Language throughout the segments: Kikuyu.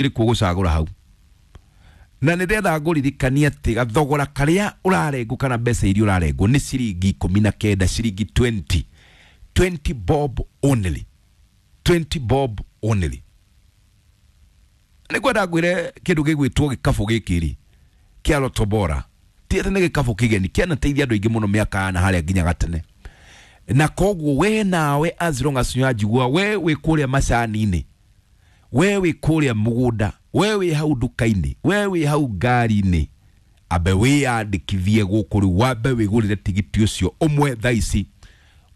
Irĩkũ ũgũcagũra hau? Na nĩ ndĩrenda ngũririkania atĩ gathogora karĩa ũrarengwo kana mbeca iria ũrarengwo nĩ ciringi 19, ciringi 20, 20 bob only, 20 bob only. Nĩ ngwenda ngwĩre kĩndũ gĩgwĩtwo gĩkabũ gĩkĩ rĩ kĩa Lotto Bora ti atĩ nĩ gĩkabũ kĩgeni, kĩanateithia andũ aingĩ mũno mĩaka ya na harĩa nginya gatene. Na koguo we nawe, as long as nĩwanjigua, we wĩ kũrĩa macani-inĩ, we wĩ kũrĩa mũgũnda, we wĩ hau nduka-inĩ, we wĩ hau ngari-inĩ, ambe wĩyandĩkithie gũkũ rĩu, wambe wĩgũrĩre tigiti ũcio ũmwe thaa ici,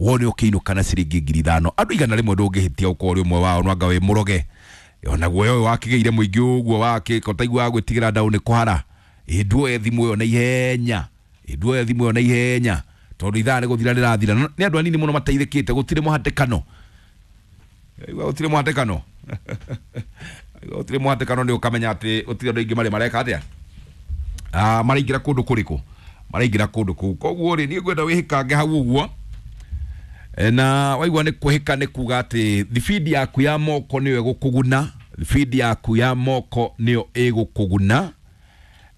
wone ũkĩinũka na ciringi 5,000. Andũ 100 ndũngĩhĩtia ũkorwo ũrĩ ũmwe wao. Nwanga wĩ mũroge onaguo ũyũ wakĩgĩire mũingĩ ũguo wakĩka ũtaiguaga gwĩtigĩra ndaũ nĩ kũhara. Ĩ nduoye thimũ ĩyo na ihenya, ĩ nduoye thimũ ĩyo na ihenya, tondũ ithaa nĩ gũthira rĩrathira. Nĩ andũ anini mũno mateithĩkĩte. Gũtirĩ mũhatĩkano. Aigua gũtirĩ mũhatĩkano. Aigua gũtirĩ mũhatĩkano, nĩ ũkamenya atĩ gũtirĩ andũ aingĩ marĩ mareka atĩa. Ah, maraingĩra kũndũ kũrĩkũ? Maraingĩra kũndũ kũu. Koguo rĩ, niĩ ngwenda wĩhĩkange hau ũguo. Na waigua nĩ kwĩhĩka, nĩ kuga atĩ thibindi yaku ya moko nĩyo ĩgũkũguna, thibindi yaku ya moko nĩyo ĩgũkũguna,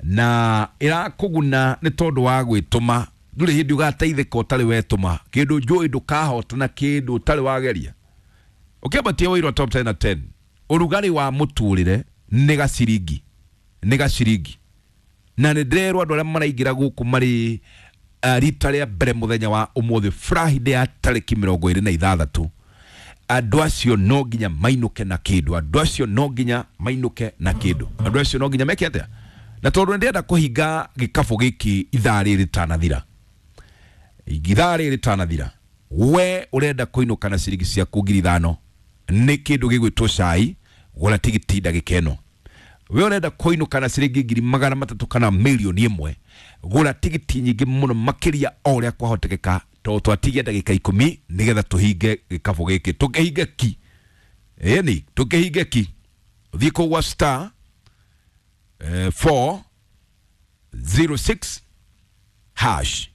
na ĩrakũguna nĩ tondũ wa gwĩtũma. Ndũrĩ hĩndĩ ũgateithĩka ũtarĩ wetũma. Kĩndũ njũĩ, ndũkahotana kĩndũ ũtarĩ wageria. Ũkĩambatia wĩirwo top 10 na 10, ũrugarĩ wa mũtũrĩre nĩ gaciringi, nĩ gaciringi. Na nĩ ndĩrerwo andũ arĩa maraingĩra gũkũ marĩ rita rĩa mbere mũthenya wa ũmũthĩ, Friday ya tarĩki 26, andũ acio no nginya mainũke na kĩndũ, andũ acio no nginya mainũke na kĩndũ, andũ acio no nginya meke atĩa? Na tondũ nĩ ndĩrenda kũhinga gĩkabũ gĩkĩ ithaa rĩrĩ rĩtanathira, ithaa rĩrĩ rĩtanathira, we ũrenda kũinũka na ciringi ciaku 5,000 nĩ kĩndũ gĩgwĩtwo cai, gũra tigiti ndagĩka ĩno. We ũrenda kũinũka na ciringi 300,000 kana 1,000,000, gũra tigiti nyingĩ mũno makĩria o ũrĩa kwahotekeka, tondũ twatigia ndagĩka 10 nĩgetha tũhinge gĩkabũ gĩkĩ, tũkĩhinge ki. Ĩni tũkĩhinge ki. Ũthiĩ kũu gwa star 406 hash,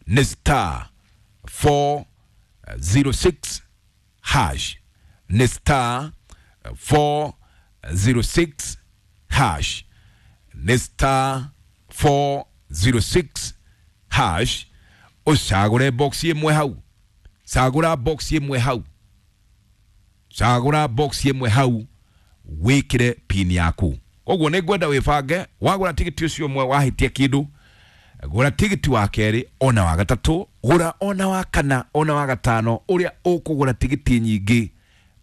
nĩ star 406 hash, nĩ star 406 hash, nĩ star 406 hash. Ũcagũre box ĩmwe hau, cagũra box ĩmwe hau, cagũra box ĩmwe hau, wĩkĩre pin yaku. Koguo nĩ ngwenda wĩbange. Wagũra tigiti ũcio ũmwe, wahĩtia kĩndũ, gũra tigiti wa kerĩ, ona wa gatatũ, gũra ona wa kana, ona wa gatano. Ũrĩa ũkũgũra tigiti nyingĩ,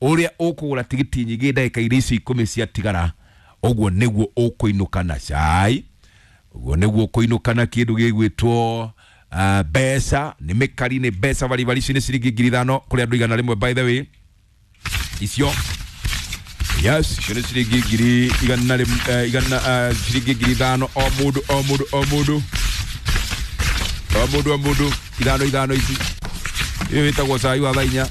ũrĩa ũkũgũra tigiti nyingĩ ndagĩka iria ici 10 ciatigara, ũguo nĩguo ũkũinũka na cai, ũguo nĩguo ũkũinũka na kĩndũ gĩgwĩtwo mbeca. Nĩ mĩkari, nĩ mbeca baribari. Ici nĩ ciringi 5,000 kũrĩ andũ 100, by the way. Icio, yes, icio nĩ ciringi ngiri igana igana, ciringi 5,000 o mũndũ, o mũndũ, o mũndũ, o mũndũ, o mũndũ, ithano ithano ici. Ĩyo ĩtagwo cai wa thaa 4.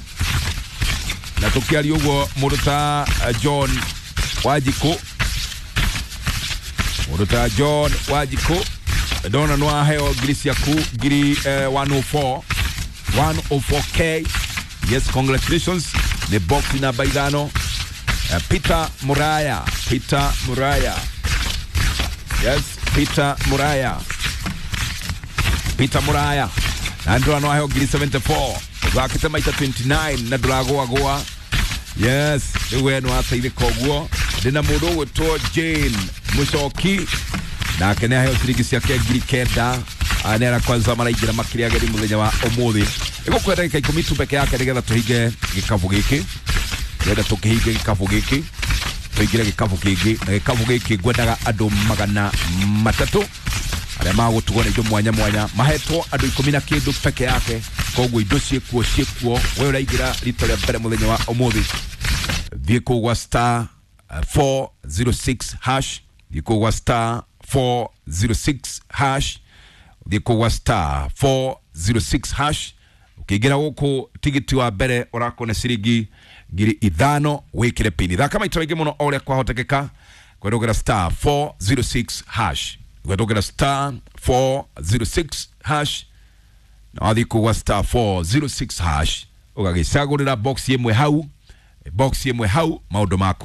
Na tũkĩaria ũguo, mũndũ ta John Wanjikũ, mũndũ ta John Wanjikũ, ndona nĩ waheo ngiri ciaku ngiri 104, 104K. Yes, congratulations. Nĩ box namba 5. Peter Muraya, Peter Muraya, yes, Peter Muraya, Peter Muraya, na ndĩrona no waheo ngiri 74. Ũthakĩte maita 29 na ndũragũagũa. Yes, rĩu we nĩ wateithĩka ũguo. Ndĩna mũndũ ũgwĩtwo Jane Mũcoki, nake nĩ aheo ciringi ciake 9,000. Nĩ ara kwanza maraingĩra makĩria ageni mũthenya wa ũmũthĩ. Ĩgũkwenda ndagĩka 10 tu peke yake nĩgetha tũhinge gĩkabũ gĩkĩ. Ndĩrenda tũkĩhinge gĩkabũ gĩkĩ, tũingĩre gĩkabũ kĩngĩ. Na gĩkabũ gĩkĩ ngwendaga andũ 300 arĩa magũtugwo na indo mwanya mwanya. Mahetwo andũ 10 na kĩndũ peke yake, koguo indo ciĩkuo, ciĩkuo. We ũraingĩra rita rĩa mbere mũthenya wa ũmũthĩ, thiĩ kũu gwa star 406 hash, thiĩ kũu gwa star 406 hash, thiĩ kũu gwa star 406 hash. Ũkĩingĩra gũkũ, tigiti wa mbere ũrakona ciringi 5,000, wĩkĩre pini. Thaka maita maingĩ mũno o ũrĩa kwahotekeka. Kwendogera star 406 hash, kwendogera star 406 hash. Na wathiĩ kũu gwa star 406 hash, ũgagĩcagũrĩra box ĩmwe hau, box ĩmwe hau, maũndũ maku.